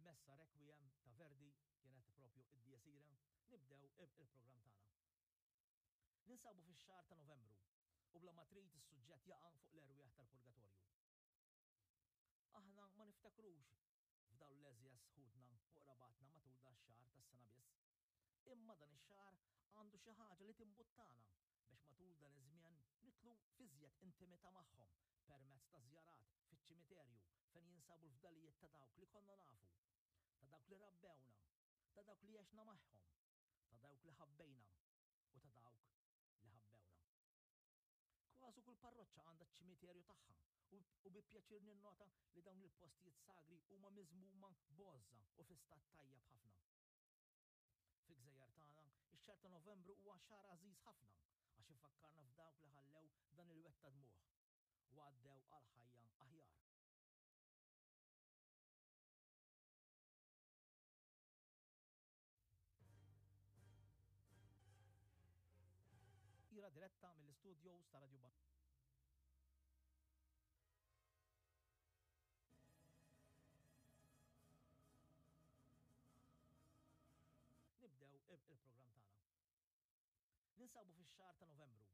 Il-Messa Requiem ta' Verdi kienet propju id-Dies Irae, nibdew il-programm tagħna. Ninsabu fix-xahar ta' Novembru u bla ma trid is-suġġett jaqa' fuq l-erwieħ tal-purgatorju. Aħna ma niftakrux f'dawn l-għeżież ħutna u qrabatna matul dax-xahar tas-sena biss. Imma dan ix-xahar għandu xi ħaġa li timbuttana biex matul dan iż-żmien nidħlu f'iżjed intimità magħhom permezz ta' żjarat fiċ-ċimiterju fejn jinsabu l-fdalijiet ta' dawk li konna nafu, ta' dawk li rabbewna, ta' dawk li għexna magħhom, ta' dawk li ħabbejna u ta' dawk li ħabbewna. Kważi kull parroċċa għandha ċ-ċimiterju tagħha u bi pjaċir ninnota li dawn il-postijiet sagri huma miżmuma b'għożża u fi stat tajjeb ħafna. Fil-gżejjer tagħna, ix-xahar ta' Novembru huwa xahar għażiż ħafna għax ifakkarna f'dawk li ħallew dan il-wed ta' dmugħ u għaddew għal ħajja aħjar. Ira diretta mill-istudios ta' Radio Nibdew il-programm tagħna. Ninsabu fix-xahar ta' Novembru.